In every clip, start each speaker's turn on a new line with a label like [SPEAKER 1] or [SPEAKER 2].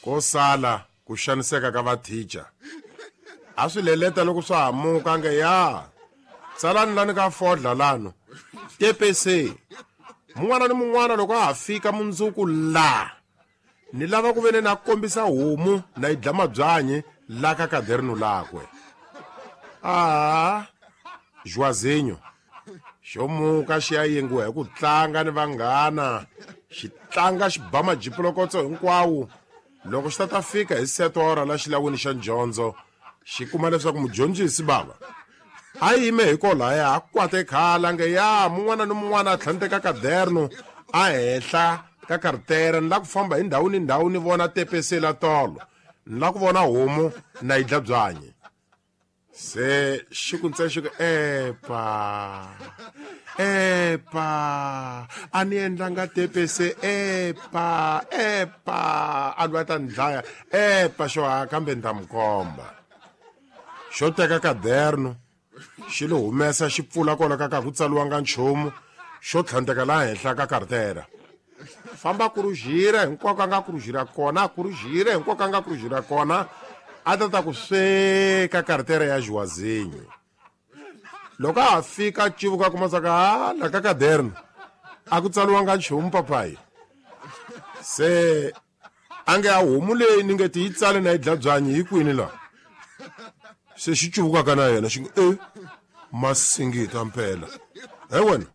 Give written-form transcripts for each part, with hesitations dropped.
[SPEAKER 1] Ko sala ku xaniseka ka vathicha. A swi leleta loko swa hamuka nge ya. Tsalani lani ka fodla lano. TPC. Mun'wana ni mun'wana loko a ha fika mundzuku la. Ni lava ku vene na kombisa homu na yi dla mabyanyi la ka kaderno lakwe. Ah, Joazinho. Xo muka xi ya yengiwa hi ku tlanga ni vanghana. Xi tlanga xi ba majipolokotso hinkwawo. Loko xi ta ta fika hi setora la xilawini xa ndyondzo, xi kuma leswaku mudyondzisi bava a yime hi kolaya a kwate khala nge ya mun'wana ni mun'wana a tlhanteka kaderno a henhla ka kartere ni la ku famba hi ndhawu ni ndhawu ni vona tepese la tolo ni la ku vona homu na yi dla byanyi se xi ku ntsena xi ku epa epa a ni endlanga tepese epa epa a lwa ta ni dlaya epa xo ha kambe ni ta mi komba xo teka kaderno xi li humesa xi pfula kona ka ka ku tsaliwanga nchumu xo tlhandleka laha henhla ka kartera famba kurujira hinkwako a nga kurujira kona kurujira hinkwako a nga kurujira kona a ta ta ku sweka kartera ya Joazinho loko a ha fika civuka kuma saka ha la ka kaderno a ku tsaliwanga nchumu papayi se a nge a homu leyi ni nge ti yi tsale na yi dla byanyi hi kwini la se xi cuvukaka na yena xi nge e masingita mpela he wena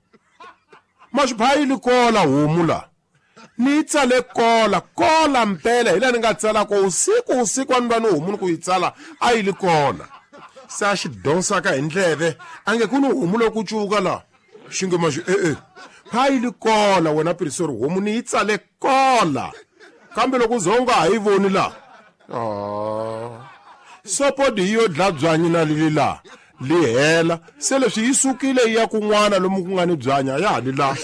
[SPEAKER 1] maxiphayi kola homu la ni yi tsale kola kola mpela hi laha ni nga tsala ko usiku usiku a ni va ni homu ni ku yi tsala a yi li kona se a xi donsaka hi ndleve a nge ku ni homu loko cuvuka laha xi nge maxi e-e phayi li kola wena pirisori homu ni yi tsale kola kambe loko u ze u nga ha yi voni laha sopodi yi yo dla byanyi na lili laha li hela se leswi yi sukile yi ya kun'wana lomu ku nga ni byanyi a ya ha li laha.